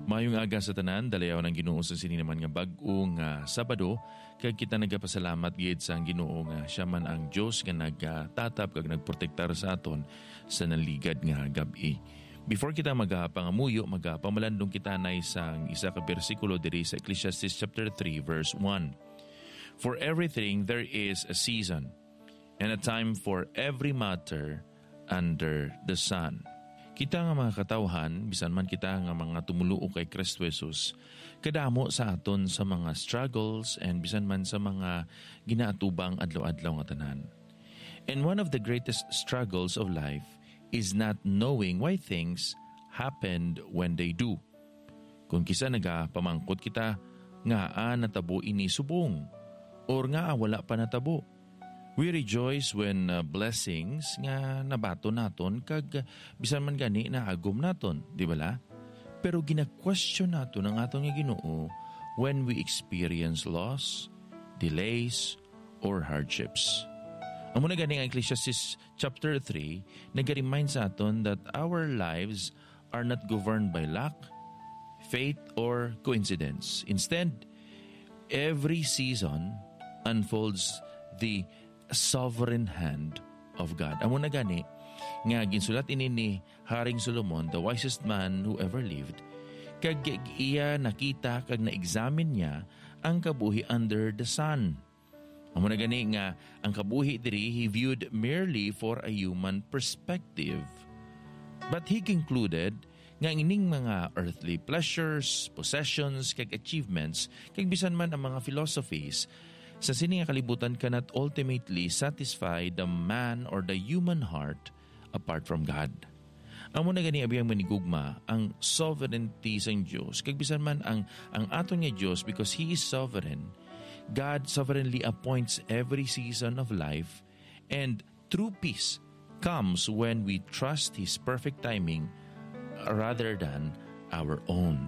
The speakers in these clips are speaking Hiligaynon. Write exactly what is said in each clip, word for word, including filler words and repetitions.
Mayong aga sa tanan, dalayawon ang Ginoo sa sini naman nga bag-o nga Sabado, kag kita nagapasalamat gid sa Ginoo nga siya man ang Dios nga nagatatap kag nagprotektar sa aton sa naligad nga gab-i. Before kita magapangamuyo, magapamalandong kita nay sang isa ka bersikulo diri sa Ecclesiastes chapter three, verse one. "For everything there is a season, and a time for every matter under the sun." Kita nga mga katawhan, bisan man kita nga mga tumuluo kay Kristo Jesus, kadamo sa aton sa mga struggles and bisan man sa mga ginaatubang adlaw-adlaw nga tanan. And one of the greatest struggles of life is not knowing why things happened when they do. Kung kisa nagapamangkot kita, ngaa natabo ini subong, or ngaa wala pa natabo? We rejoice when, uh, blessings nga nabaton naton kag, uh, bisan man gani naagom naton, di bala? Pero gina-question naton ang aton nga Ginoo when we experience loss, delays, or hardships. Amo na gani ang Ecclesiastes chapter three nag-remind sa aton that our lives are not governed by luck, fate, or coincidence. Instead, every season unfolds the sovereign hand of God. Amo na gani nga ginsulat ini ni Haring Solomon, the wisest man who ever lived, kag iya nakita kag na-examine niya ang kabuhi under the sun. Amo na gani nga ang kabuhi diri he viewed merely for a human perspective. But he concluded nga ining mga earthly pleasures, possessions, kag achievements, kag bisan man ang mga philosophies, sa sini nga kalibutan cannot ultimately satisfy the man or the human heart apart from God. Amo na gani, abiyang manigugma, ang sovereignty sang Dios, kag bisan man ang, ang aton nga Dios, because He is sovereign, God sovereignly appoints every season of life, and true peace comes when we trust His perfect timing rather than our own.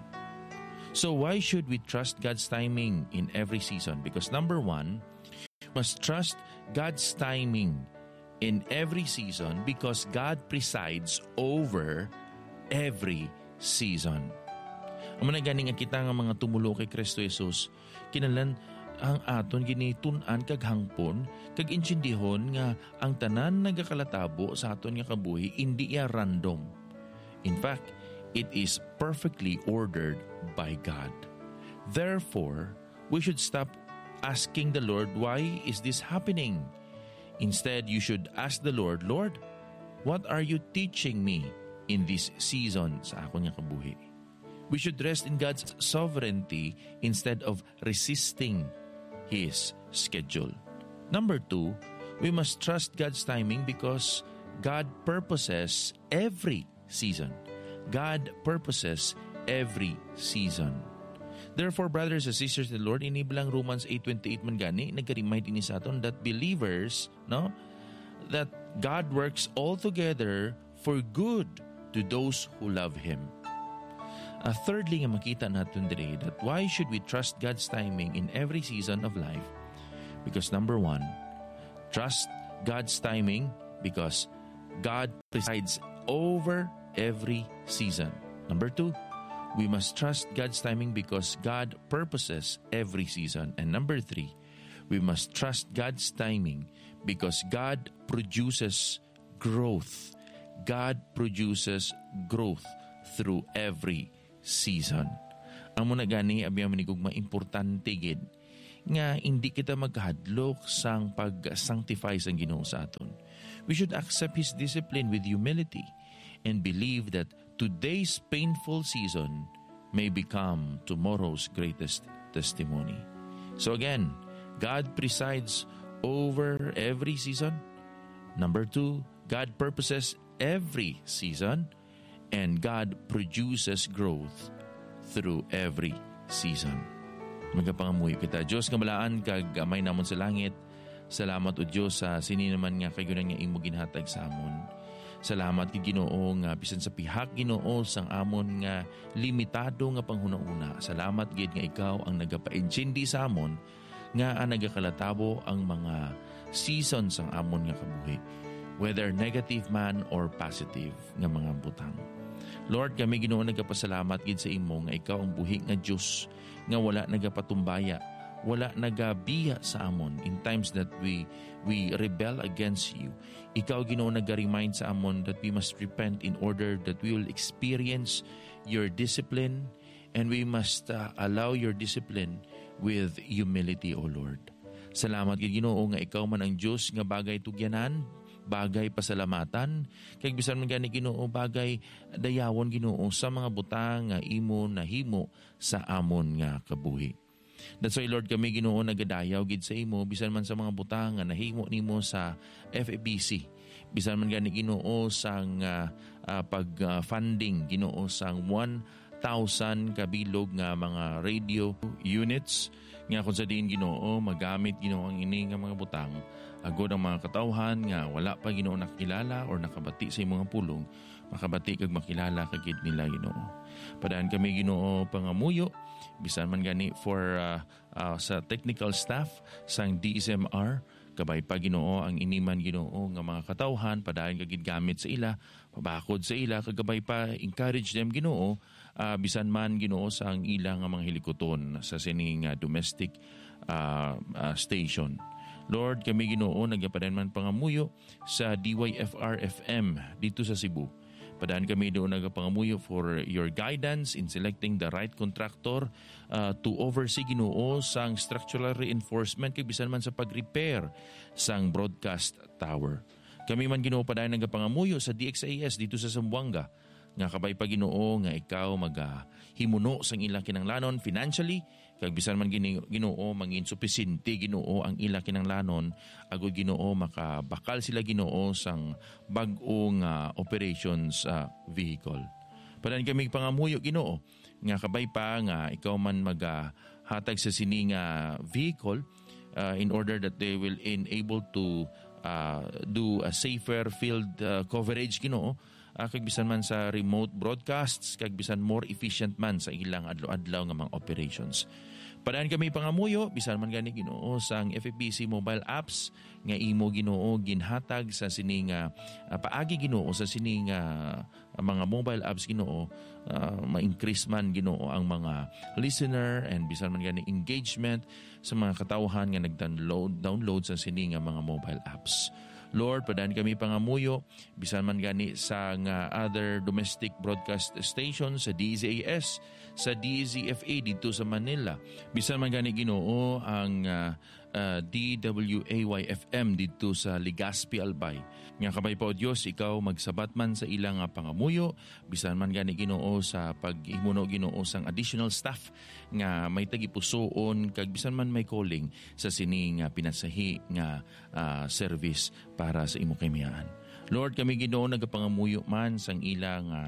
So why should we trust God's timing in every season? Because number one, must trust God's timing in every season because God presides over every season. Amo na gani nga kita nga mga tumulo kay Kristo Jesus, kinahanglan ang aton ginitun-an kag hangpon kag intindihon nga ang tanan nagakalatabo sa aton nga kabuhi indi iya random. In fact, it is perfectly ordered by God. Therefore, we should stop asking the Lord, "Why is this happening?" Instead, you should ask the Lord, "Lord, what are you teaching me in this season sa akon nga kabuhi?" We should rest in God's sovereignty instead of resisting His schedule. Number two, we must trust God's timing because God purposes every season. God purposes every season. Therefore, brothers and sisters in the Lord, ini bilang Romans eight twenty-eight man gani, nag-remind ini sa aton that believers, no, that God works all together for good to those who love Him. Uh, thirdly, nga makita naton diri, that why should we trust God's timing in every season of life? Because number one, trust God's timing because God presides over every season. Number two, we must trust God's timing because God purposes every season. And number three, we must trust God's timing because God produces growth. God produces growth through every season. Amo na gani, abiyang manigugma, importante gid nga hindi kita magkahadlok sang pag-sanctify sang Ginoo sa aton. We should accept His discipline with humility and believe that today's painful season may become tomorrow's greatest testimony. So again, God presides over every season. Number two, God purposes every season. And God produces growth through every season. Magapangamuyo kita. Dios nga balaan kag Amay namon sa langit, salamat, O Dios, sa sini naman nga kayunan nga imo ginhatag sa amon. Salamat gid, Ginoo, nga bisan sa pihak, Ginoo, sang amon nga limitado nga panghunahuna, salamat gid nga ikaw ang nagapaintindi sa amon nga ang nagakalatabo ang mga season sang amon nga kabuhi, whether negative man or positive nga mga butang. Lord, kami, Ginoo, nagapasalamat gid sa imo nga ikaw ang buhi nga Dios nga wala nagapatumbaya, wala nagabiya sa amon in times that we we rebel against you. Ikaw, Ginoo, naga-remind sa amon that we must repent in order that we will experience your discipline, and we must, uh, allow your discipline with humility, O Lord. Salamat gid, Ginoo, nga ikaw man ang Dios nga bagay tugyanan, bagay pasalamatan, kag bisan man gani, Ginoo, bagay dayawon, Ginoo, sa mga butang nga imo nahimo sa amon nga kabuhi. That's why, Lord, kami, Ginoo, nagadayaw gid sa imo bisan man sa mga butang nga nahimo nimo sa F E B C. Bisan man gani, Ginoo, sang, ah, ah, pag, ah, funding, Ginoo, sang one thousand kabilog nga mga radio units, nga kung sa diin, Ginoo, magamit, Ginoo, ang ini nga mga butang, agod ang mga katawhan nga wala pa, Ginoo, nakilala or nakabati sa imo nga pulong, makabati kag makilala ka gid nila, Ginoo. Padaan kami, Ginoo, pangamuyo, bisan man gani for, ah, ah, sa technical staff sang D S M R, kabay pa, Ginoo, ang ini man, Ginoo, nga mga katawhan, padaan ka gid gamit sa ila, pabakod sa ila, kag kabay pa, encourage them, Ginoo, ah, bisan man, Ginoo, sa ang ila nga mga hilikuton sa sini nga domestic, ah, ah, station. Lord, kami, Ginoo, nagapadaan man pangamuyo sa D Y F R F M dito sa Cebu. Padaan kami doon nagapangamuyo for your guidance in selecting the right contractor, uh, to oversee, Ginoo, sang structural reinforcement kag bisan man sa pag-repair sang broadcast tower. Kami man, Ginoo, padaan nagapangamuyo sa D X A S dito sa Zamboanga, nga kabay pa, Ginoo, nga ikaw magahimuno sang ilang kinahanglanon financially, kag bisan man gini-, Ginoo, mangin supisinte, Ginoo, ang ila kinahanglanon, agud, Ginoo, makabakal sila, Ginoo, sang bag-o nga operations, ah, vehicle. Padaan kami pangamuyo, Ginoo, nga kabay pa nga ikaw man magahatag sa sini nga vehicle, ah, in order that they will enable to, ah, do a safer field, ah, coverage, Ginoo, ah, kag bisan man sa remote broadcasts, kag bisan more efficient man sa ilang adlaw-adlaw nga mga operations. Padaan kami pangamuyo, bisan man gani, Ginoo, sang F E B C mobile apps nga imo, Ginoo, ginhatag sa sini nga, ah, paagi, Ginoo, sa sini nga, ah, mga mobile apps, Ginoo, ah, ma-increase man, Ginoo, ang mga listener and bisan man gani engagement sa mga katawhan nga nag-download, download sa sini nga mga mobile apps. Lord, padaan kami pangamuyo, bisan man gani sa nga other domestic broadcast stations, sa D Z A S, sa D Z F A dito sa Manila, bisan man gani, Ginoo, ang, ah, ah, D W A Y F M dito sa Legazpi, Albay. Nga kabay pa, O Dios, ikaw magsabat man sa ila nga pangamuyo, bisan man gani, Ginoo, sa paghimuno, Ginoo, sang additional staff nga may tagipusoon kag bisan man may calling sa sini nga pinasahi nga, ah, service para sa imo kahimayaan. Lord, kami, Ginoo, nagapangamuyo man sang ila nga,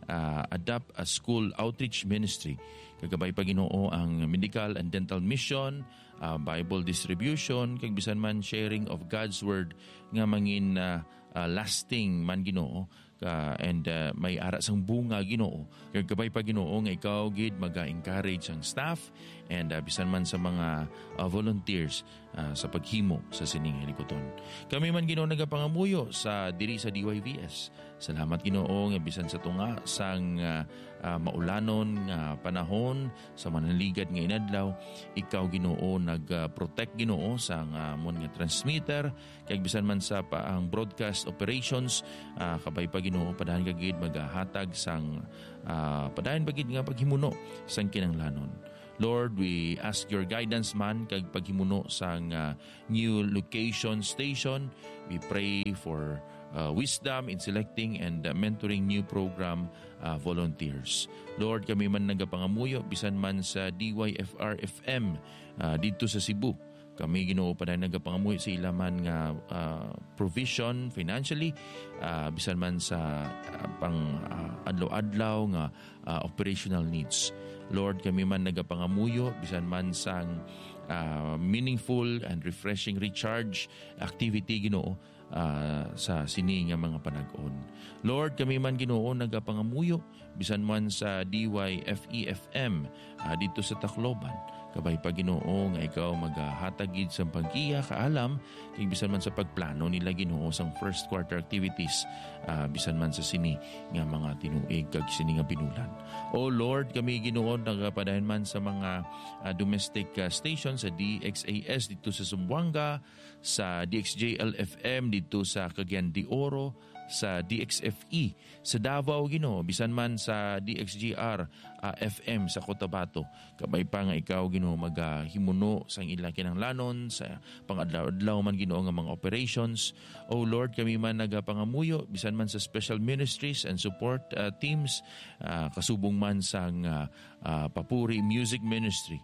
ah, Adapt a School Outreach Ministry. Kag kabay pa, Ginoo, ang Medical and Dental Mission, ah, Bible distribution, kag bisan man sharing of God's Word nga mangin, ah, ah, lasting man, Ginoo, ka, and, ah, may ara sang bunga, Ginoo. Kag kabay pa, Ginoo, nga ikaw gid maga-encourage ang staff and, ah, bisan man sa mga, ah, volunteers, ah, sa paghimo sa sining hilikuton. Kami man, Ginoo, nagapangamuyo sa diri sa D Y V S. Salamat, Ginoo, nga bisan sa tunga sang, ah, ah, maulanon nga panahon sa manaligad nga inadlaw, ikaw, Ginoo, nag, ah, protect, Ginoo, sa nga amon nga transmitter, kag bisan man sa pa ang broadcast operations, ah, kabay pa, Ginoo, padaan ka gid magahatag sang, ah, padaan pa gid nga paghimuno sang kinahanglanon. Lord, we ask your guidance man kag paghimuno sang, ah, new location station. We pray for, ah, wisdom in selecting and, ah, mentoring new program, ah, volunteers. Lord, kami man nagapangamuyo bisan man sa D Y F R F M, ah, didto sa Cebu. Kami, Ginoo, padaan nagapangamuyo sa ila man nga, ah, provision financially, ah, bisan man sa, ah, pang, ah, adlaw-adlaw nga, ah, operational needs. Lord, kami man nagapangamuyo bisan man sang, ah, meaningful and refreshing recharge activity, Ginoo, ah, sa sini nga mga panag-on. Lord, kami man, Ginoo, nagapangamuyo bisan man sa D Y F E F M, ah, dito sa Tacloban. Kabay pa, Ginoo, nga ikaw magahatag gid sang paggiya, kaalam, kag bisan man sa pagplano nila, Ginoo, sang first quarter activities, ah, bisan man sa sini nga mga tinuig kag sini nga binulan. O Lord, kami, Ginoo, nagapadayon man sa mga, ah, domestic, ah, station sa D X A S dito sa Zamboanga, sa D X J L F M dito sa Cagayan de Oro, sa D X F E sa Davao, Ginoo, bisan man sa D X G R, ah, F M sa Cotabato. Kabay pa nga ikaw, Ginoo, magahimuno sang ila kinahanglanon sa pangadlaw-adlaw man, Ginoo, nga mga operations. O Lord, kami man nagapangamuyo bisan man sa special ministries and support, ah, teams, ah, kasubong man sang, ah, ah, Papuri Music Ministry.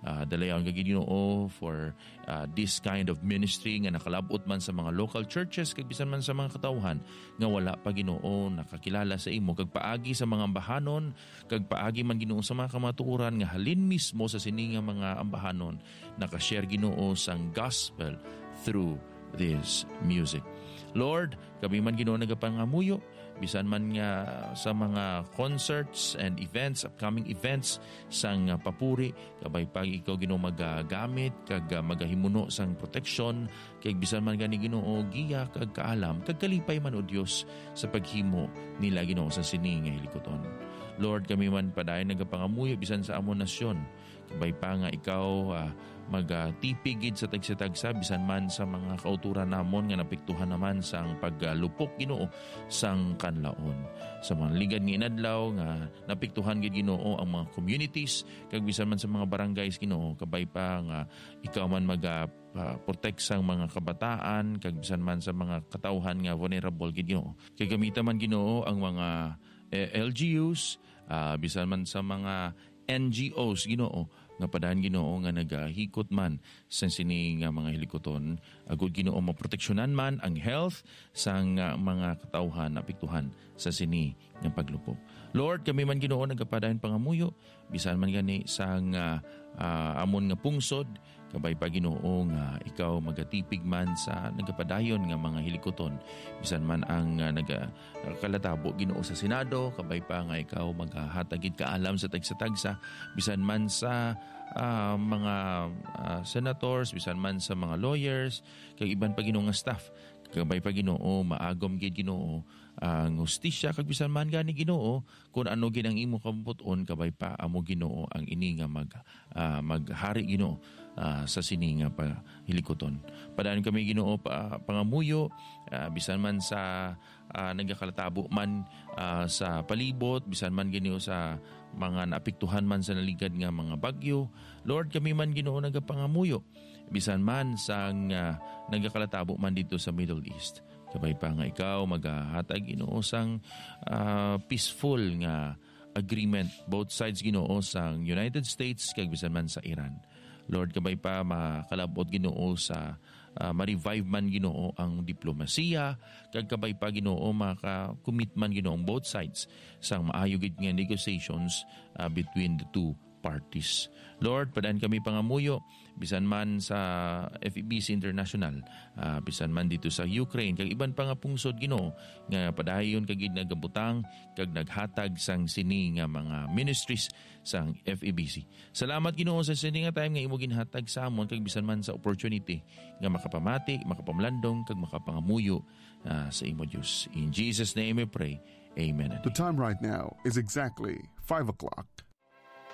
Ah, dalayawon ka, Ginoo, for, ah, this kind of ministry nga nakalab-ot man sa mga local churches kag bisan man sa mga katawhan nga wala pa, Ginoo, nakakilala sa imo, kag paagi sa mga ambahanon, kag paagi man, Ginoo, sa mga kamatuoran nga halin mismo sa sini nga mga ambahanon nakashare, Ginoo, sang gospel through this music. Lord, kami man, Ginoo, nagapangamuyo bisan man nga sa mga concerts and events, upcoming events sang, ah, Papuri, kabay pa ikaw, Ginoo, magagamit kag, ah, magahimuno sang proteksyon, kag bisan man gani, Ginoo, giya kag kaalam kag kalipay man, O Dios, sa paghimo nila, Ginoo, sa sini nga hilikuton. Lord, kami man padayon nagapangamuyo bisan sa amon nasyon, kabay pa nga ikaw, ah, magatipig gid sa tagsa-tagsa, bisan man sa mga kautoran namon nga napiktuhan naman sang paglupok, Ginoo, sang kanlaon. Sa mga ligad nga inadlaw nga napiktuhan gid, Ginoo, ang mga communities, kag bisan man sa mga barangays, Ginoo, kabay pa nga ikaw man maga, ah, protect sang mga kabataan, kag bisan man sa mga katawhan nga vulnerable gid, Ginoo. Kag gamita man, Ginoo, ang mga, eh, L G Us, ah, bisan man sa mga N G Os, Ginoo, nga padayon, Ginoo, nga nagahikot man sa sini nga mga hilikuton. Agud, Ginoo, maproteksyonan man ang health sang, ah, mga katawhan apektuhan sa sini nga paglupok. Lord, kami man, Ginoo, nagapadayon pangamuyo, bisan man gani sang, ah, ah, amon nga pungsod, kabay pa, Ginoo, nga ikaw magatipig man sa nagapadayon nga mga hilikuton, bisan man ang, ah, naga-, kalatabo, Ginoo, sa Senado, kabay pa nga ikaw magahatag gid kaalam sa tagsa-tagsa, bisan man sa, ah, mga, ah, senators, bisan man sa mga lawyers, kag iban pa, Ginoo, nga staff. Kabay pa, Ginoo, maagom gid, Ginoo, ang hustisya, kag bisan man gani, Ginoo, kun ano gid ang imo kabubut-on, kabay pa, amo, Ginoo, ang ini nga mag-, ah, maghari, Ginoo, ah, sa sini nga pa-, hilikuton. Padayon kami, Ginoo, pa-, pangamuyo, ah, bisan man sa, ah, nagakalatabo man, ah, sa palibot, bisan man, Ginoo, sa mga naapektuhan man sa naligad nga mga bagyo. Lord, kami man, Ginoo, nagapangamuyo, bisan man sang, ah, nagakalatabo man dito sa Middle East. Kabay pa nga ikaw magahatag, Ginoo, sang, ah, peaceful nga agreement, both sides, Ginoo, sang United States kag bisan man sa Iran. Lord, kabay pa makalab-ot, Ginoo, sa, ah, ma-revive man, Ginoo, ang diplomasiya, kag kabay pa, Ginoo, maka-commit man, Ginoo, ang both sides sang maayo gid nga negotiations, ah, between the two parties. Lord, padayon kami pangamuyo, bisan man sa F E B C International, ah, bisan man dito sa Ukraine, kag iban pa nga pungsod, Ginoo, nga padayon ka gid nagabutang kag naghatag sang sini nga mga ministries sang F E B C. Salamat, Ginoo, sa sini nga time nga imo ginhatag sa amon, kag bisan man sa opportunity nga makapamati, makapamlandong, kag makapangamuyo, ah, sa imo, Dios. In Jesus' name we pray. Amen. The time right now is exactly five o'clock.